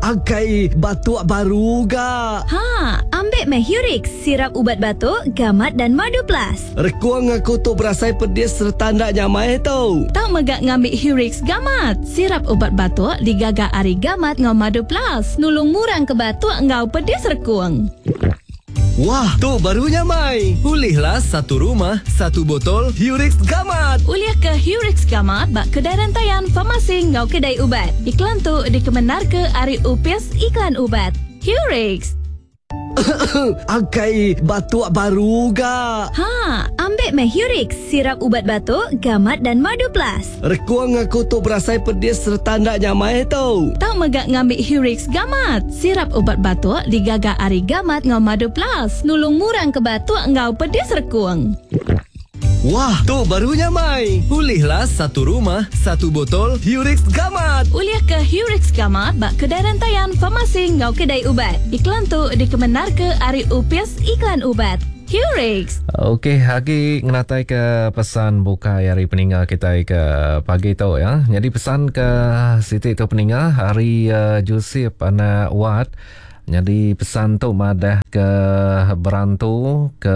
Akai batuk baru ga. Ha, ambik meh Hurix, sirap ubat batuk, gamat dan madu plus. Rekung aku tu berasai pedis sereta enda nyamai tu. Tau mega ngambi Hurix Gamat, sirap ubat batuk digaga ari gamat enggau madu plus, nulung ngurangka batuk enggau pedis rekung. Wah, tu baru nyamai. Ulihlah satu rumah, satu botol Hurix Gamat. Ulih ke Hurix Gamat ba kedai rentayan, farmasi enggau kedai ubat. Iklan tu dikemendarka ari Opis Iklan Ubat. Hurix. Akai batuk baru ga. Ha, ambik meh Hurix, sirap ubat batuk, gamat dan madu plus. Rekung aku tu berasai pedis sereta enda nyamai tu. Tau mega ngambi Hurix Gamat, sirap ubat batuk digaga ari gamat enggau madu plus, nulung ngurangka batuk enggau pedis rekung. Wah, tu baru nyamai. Ulihlah satu rumah, satu botol Hurix Gamat. Ulih ke Hurix Gamat ba kedai rentayan, farmasi enggau kedai ubat. Iklan tu dikemendarka ari Opis Iklan Ubat. Hurix. Okey, agi ngenatai ke pesan bukai ari peninga kitai ke pagi tu ya. Nyadi pesan ke siti tu peninga ari uh, Joseph anak Wat. Nyadi pesan tu madah ke berantu ke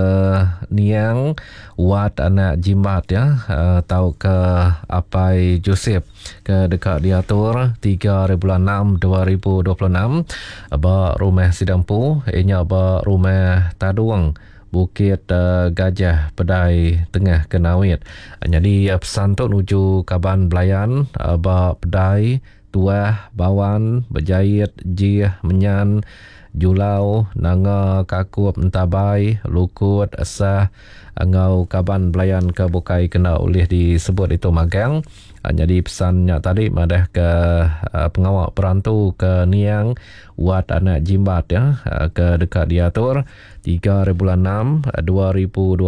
niang Wat anak Jimbat ya uh, tauka apai Joseph ke deka diatur 3 hari bulan 6 2026 ba rumah sida empu iya nya ba rumah Tadung Bukit Gajah Pedai Tengah Kenawit. Nyadi pesan tu nuju kaban belayan ba Pedai, Tuah, Bawan, Bejait, Jih, Menyan, Julau, Nanga, Kakup, Entabai, Lukut, Sah enggau kaban belayan ke bukai kena ulih disebut ditu magang. Nyadi pesan nya tadi madahka pengawa perantu ke niang Wat Anak Jimbat ya ke deka diatur 3 hari bulan 6 2026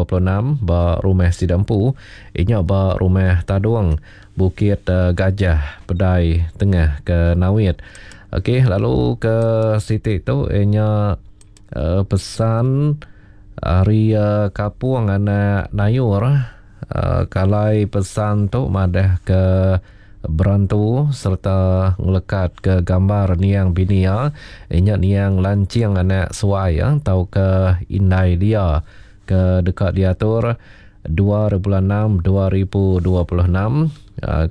ba rumah sida empu inya ba rumah Tadung Bukit Gajah Pedai Tengah ke Nawit. Okey lalu ke siti tu inya pesan ari Kapung anak Nayur. Kalai pesan tu madah ke berantu sereta ngelekat ke gambar niang bini iya, inya niang Lanching anak Suai tauka indai Lia ke deka diatur 2006 2026.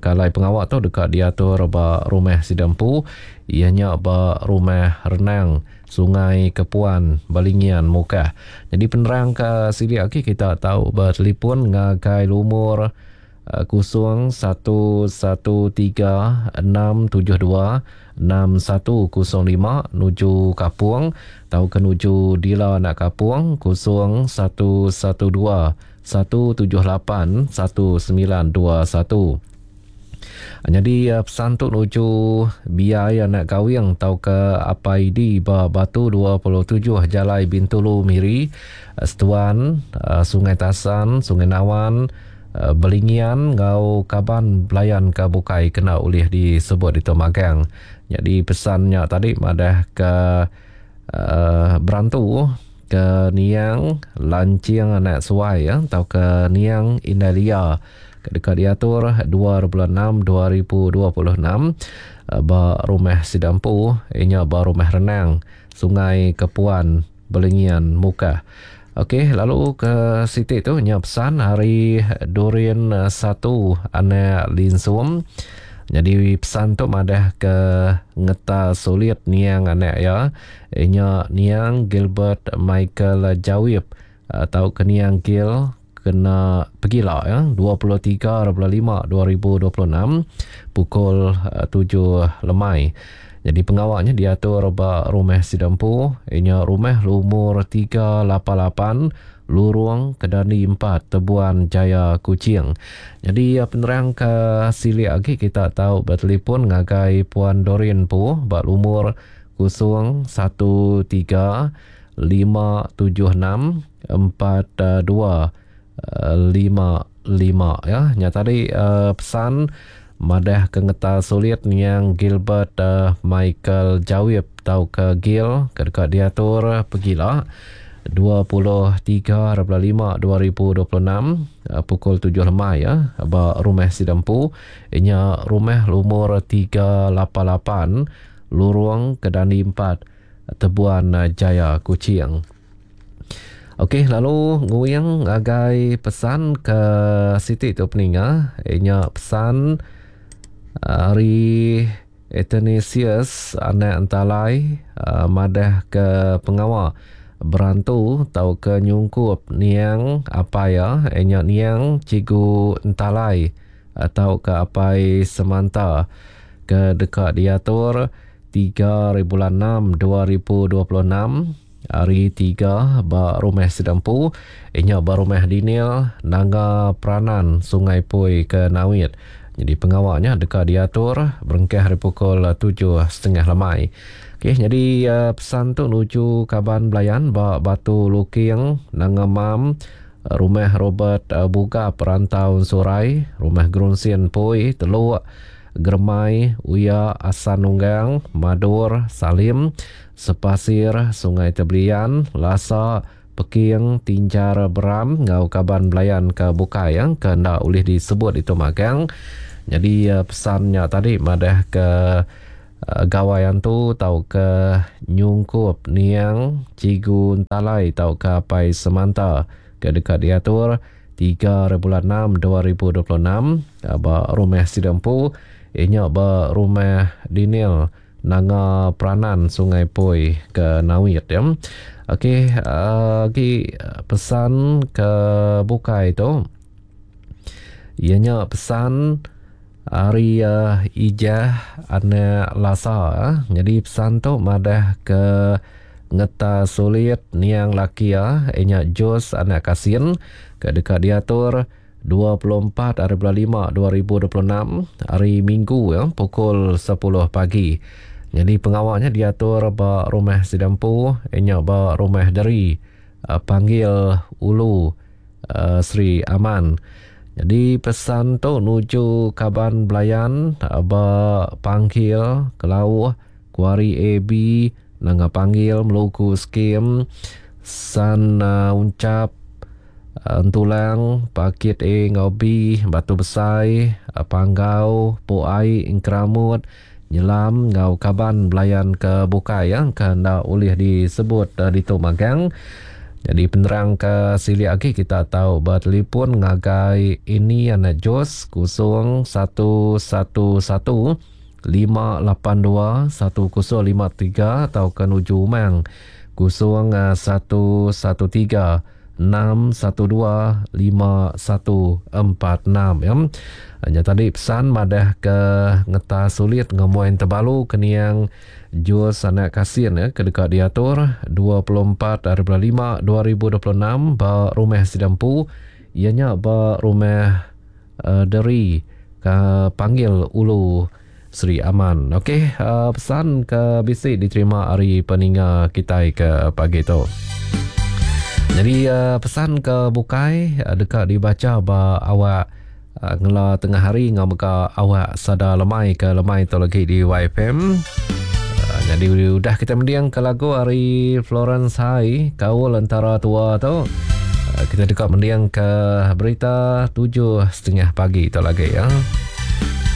Kalai pengawa tu deka diatur ba rumah sida empu iya nya ba Rumah Renang Sungai Kepuan Balingian Mukah. Nyadi penerang ke silik agi kita tau betelipon ngagai lumur 011 672 6105 nuju Kapung tauka nuju Dila anak Kapung 0112 178 1921. Nyadi pesan tu nuju Biai anak Gawing tauka Apai Idi ba Batu 27 Jalai Bintulu Miri, Setuan, Sungai Tasan, Sungai Nawan, Belingian enggau kaban belayan ke bukai kena ulih disebut ditu magang. Nyadi pesan nya tadi madah ke berantu ke niang Lanching anak Suai tauka niang Indai Lia ke deka diatur 26 2026 ba rumah sida empu iya nya ba Rumah Renang, Sungai Kepuan, Belingian, Mukah. Okey lalu ke siti tu nya pesan ari Durin satu anak Linsum. Nyadi pesan tu madah ke ngeta sulit niang anak iya iya nya niang Gilbert Michael Jawip tauka niang Gil kena pegila ya 23 bulan 5 2026 pukul 7 lemai. Jadi pengawa nya diatur ba rumah sida empu inya rumah lumur 388 Lurung Kedani 4 Tebuan Jaya Kuching. Jadi penerang ke silik agi kita tau betelefon ngagai Puan Doreen empu ba lumur 013 576 42 55 ya. Nya tadi uh, pesan madah ke ngeta sulit niang Gilbert uh, Michael Jawip tauka Gil ke deka diatur pegila 23 5 2026 uh, pukul 7 lemai ya ba rumah sida empu nya rumah lumur 388. Lurung Kedandi 4, Tebuan Jaya, Kuching. Okey, lalu nguing ngagai pesan ke siti tu peninga, inya pesan ari Athanasius anak Entalai madah ke pengawa berantu tauka nyungkup niang apai iya inya niang Cikgu Entalai tauka apai Semanta ke deka diatur 3 hari bulan 6 2026 hari 3 ba rumah sida empu inya ba rumah Dinil Nanga Pranan Sungai Pui ke Nawit. Nyadi pengawa nya deka diatur berengkah ari pukul 7.30 lemai. Okey, nyadi pesan tu nuju kaban belayan ba Batu Luking, Nanga Mam, Rumah Robert Bugap Rantau Ensurai, Rumah Gerunsin Pui, Teluk, Geremai, Uya, Asan Nunggang, Madur, Salim, Sepasir, Sungai Tebelian, Lasa, Peking, Tinjar Beram enggau kaban belayan ke bukai ke enda ulih disebut ditu magang. Nyadi pesan nya tadi madah ke gawai antu tauka nyungkup niang Cikgu Entalai tauka Apai Semanta ke deka diatur 3 hari bulan 6 2026 ba rumah sida empu iya nya ba Rumah Dinil Nanga Pranan Sungai Poi ke Nawit ya. Okey agi pesan ke bukai tu iya nya pesan ari Ijah anak Lasa. Nyadi pesan tu madah ke ngeta sulit niang laki iya iya nya Jos anak Kasin ke deka diatur 24 hari bulan 5 2026 hari Minggu ya pukul 10 pagi. Jadi pengawa nya diatur ba rumah sida empu nya ba rumah deri eh, panggil Ulu eh, Sri Aman. Jadi pesan tu nuju kaban belayan eh, ba Panggil Kelauh Kuari AB Nanga Panggil Meluku Skim San Uncap Entulang, Pakit A enggau B, Batu Besai, Panggau, Pok Ai, Engkeramut, Nyelam enggau kaban belayan ke bukai ke enda ulih disebut ditu magang. Nyadi penerang ke silik agi kita tau betelefon ngagai Ini Anak Jos 0111 582 1053 tauka nuju Umang 0113 612 5146 ya. Nya tadi pesan madah ke ngeta sulit ngemuai tebalu ke niang Jus anak Kasin ya, ke deka diatur 24 hari bulan 5 2026 ba rumah sida empu iya nya ba rumah uh, Deri ke panggil Ulu Sri Aman. Okey, uh, pesan ke bisi diterima ari peninga kitai ke pagi tu. Jadi uh, pesan ke bukai uh, deka dibaca ba awak uh, ngela tengah hari ngau mega awak sada lemai ke lemai tu lagi di YFM. Uh, jadi udah kita mending ke lagu ari Florence Hai kaul antara tua tu. Uh, kita deka mending ke berita 7.30 pagi tu lagi ya.